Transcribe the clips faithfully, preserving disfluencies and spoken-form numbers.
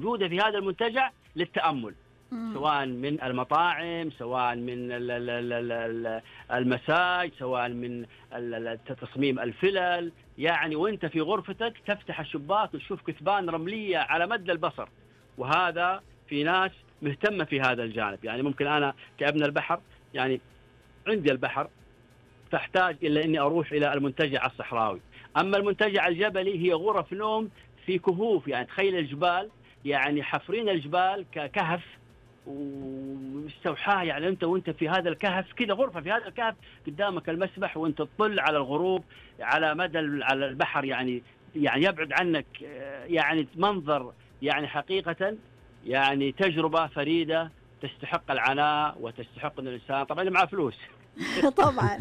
موجودة في هذا المنتجع للتأمل، سواء من المطاعم، سواء من المساج، سواء من تصميم الفلل. يعني وانت في غرفتك تفتح الشباك وتشوف كثبان رملية على مدى البصر، وهذا في ناس مهتمة في هذا الجانب. يعني ممكن أنا كابن البحر يعني عندي البحر، فاحتاج إلى أني أروح إلى المنتجع الصحراوي. أما المنتجع الجبلي هي غرف نوم في كهوف، يعني تخيل الجبال، يعني حفرين الجبال ككهف واستوحاه. يعني أنت وأنت في هذا الكهف كذا، غرفة في هذا الكهف، قدامك المسبح وأنت تطل على الغروب على مدى على البحر، يعني يعني يبعد عنك، يعني منظر يعني حقيقة يعني تجربة فريدة تستحق العناء وتستحق أن الإنسان طبعا اللي معه فلوس طبعا.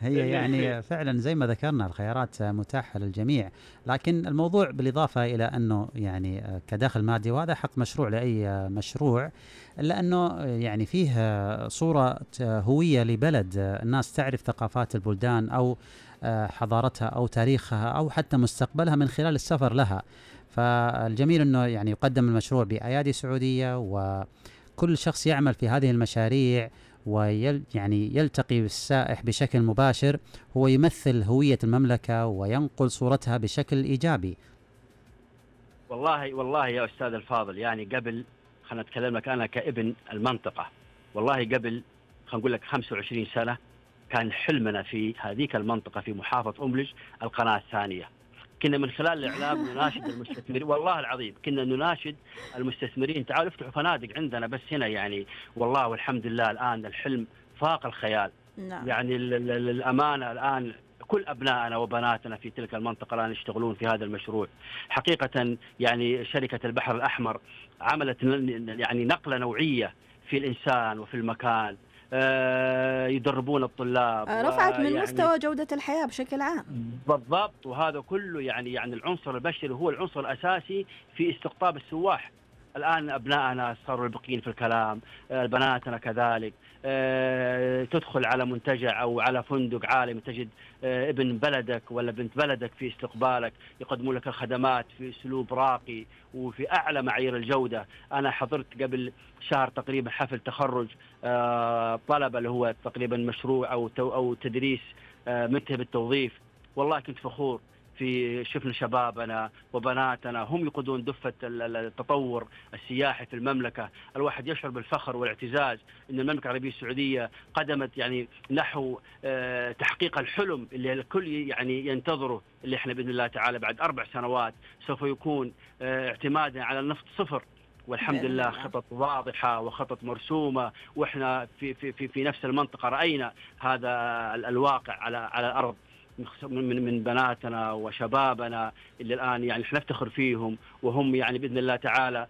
هي يعني فعلا زي ما ذكرنا الخيارات متاحة للجميع، لكن الموضوع بالإضافة إلى أنه يعني كدخل مادي، وهذا حق مشروع لأي مشروع، إلا أنه يعني فيه صورة هوية لبلد، الناس تعرف ثقافات البلدان أو حضارتها أو تاريخها أو حتى مستقبلها من خلال السفر لها. فالجميل أنه يعني يقدم المشروع بأيادي سعودية، وكل شخص يعمل في هذه المشاريع ويل يعني يلتقي بالسائح بشكل مباشر هو يمثل هوية المملكة وينقل صورتها بشكل إيجابي. والله والله يا أستاذ الفاضل، يعني قبل خلنا نتكلم لك أنا كابن المنطقة، والله قبل خلينا نقول لك خمسة وعشرين سنة كان حلمنا في هذيك المنطقة في محافظة أملج القناة الثانية. كنا من خلال الإعلام نناشد المستثمرين، والله العظيم كنا نناشد المستثمرين تعالوا افتحوا فنادق عندنا بس هنا. يعني والله والحمد لله الآن الحلم فاق الخيال. نعم. يعني الأمانة الآن كل أبنائنا وبناتنا في تلك المنطقة الآن يشتغلون في هذا المشروع حقيقة. يعني شركة البحر الأحمر عملت يعني نقلة نوعية في الإنسان وفي المكان. آه يدربون الطلاب، رفعت من يعني مستوى جودة الحياة بشكل عام. بالضبط. وهذا كله يعني يعني العنصر البشري هو العنصر الأساسي في استقطاب السواح. الآن أبنائنا صاروا البقين في الكلام، آه بناتنا كذلك. آه تدخل على منتجع أو على فندق عالمي تجد آه ابن بلدك ولا بنت بلدك في استقبالك، يقدمون لك الخدمات في أسلوب راقي وفي أعلى معايير الجودة. أنا حضرت قبل شهر تقريبا حفل تخرج آه طلبة اللي هو تقريبا مشروع أو أو تدريس آه منتهي بالتوظيف. والله كنت فخور في شفنا شبابنا وبناتنا هم يقودون دفة التطور السياحي في المملكة. الواحد يشعر بالفخر والاعتزاز أن المملكة العربية السعودية قدمت يعني نحو تحقيق الحلم اللي الكل يعني ينتظره، اللي احنا بإذن الله تعالى بعد أربع سنوات سوف يكون اعتمادا على النفط صفر. والحمد لله خطط واضحة وخطط مرسومة، وإحنا في في في في نفس المنطقة رأينا هذا الواقع على على الأرض من من بناتنا وشبابنا اللي الآن يعني نفتخر فيهم، وهم يعني بإذن الله تعالى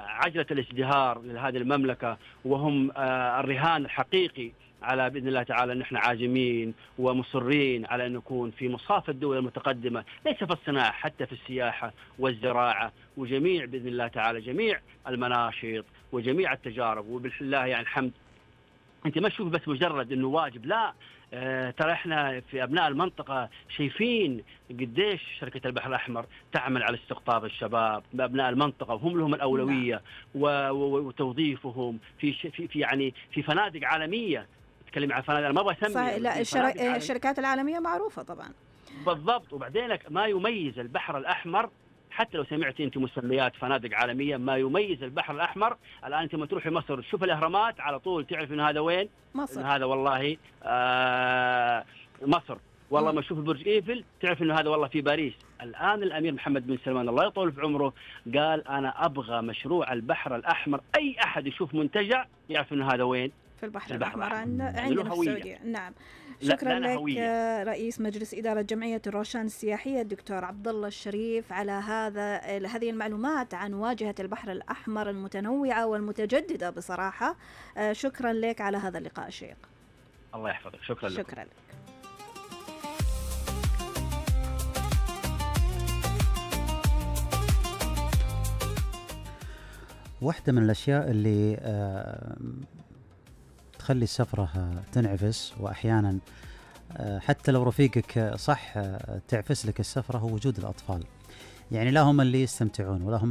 عجلة الازدهار لهذه المملكة، وهم الرهان الحقيقي على بإذن الله تعالى. نحن عازمين ومصرين على أن نكون في مصاف الدول المتقدمة، ليس في الصناعة حتى في السياحة والزراعة وجميع بإذن الله تعالى جميع المناشط وجميع التجارب. وبالله يعني الحمد أنت ما تشوف بس مجرد أنه واجب، لا آه ترى احنا في أبناء المنطقة شايفين قديش شركة البحر الأحمر تعمل على استقطاب الشباب بأبناء المنطقة، وهم لهم الأولوية وتوظيفهم في في في يعني في فنادق عالمية. تكلم عن فنادق، ما ابغى اسمي صحيح. لا الشر... الشركات العالمية معروفة طبعا. بالضبط. وبعدين ما يميز البحر الأحمر، حتى لو سمعتي انت مسميات فنادق عالمية، ما يميز البحر الأحمر الآن انت ما تروحي مصر تشوف الأهرامات على طول تعرف ان هذا وين مصر. إن هذا والله آه مصر. والله ما تشوف برج ايفل تعرف انه هذا والله في باريس. الآن الأمير محمد بن سلمان الله يطول في عمره قال أنا أبغى مشروع البحر الأحمر أي أحد يشوف منتجع يعرف انه هذا وين في البحر, البحر الأحمر عندنا في السعودية. نعم. شكرا لك هوية. رئيس مجلس إدارة جمعية الروشان السياحية الدكتور عبد الله الشريف على هذا هذه المعلومات عن واجهة البحر الأحمر المتنوعة والمتجددة بصراحة. شكرا لك على هذا اللقاء الشيق. الله يحفظك. شكرا لك. شكرا لك. واحدة من الأشياء اللي تخلي السفرة تنعفس، وأحيانا حتى لو رفيقك صح تعفس لك السفرة، هو وجود الأطفال. يعني لا هم اللي يستمتعون ولا هم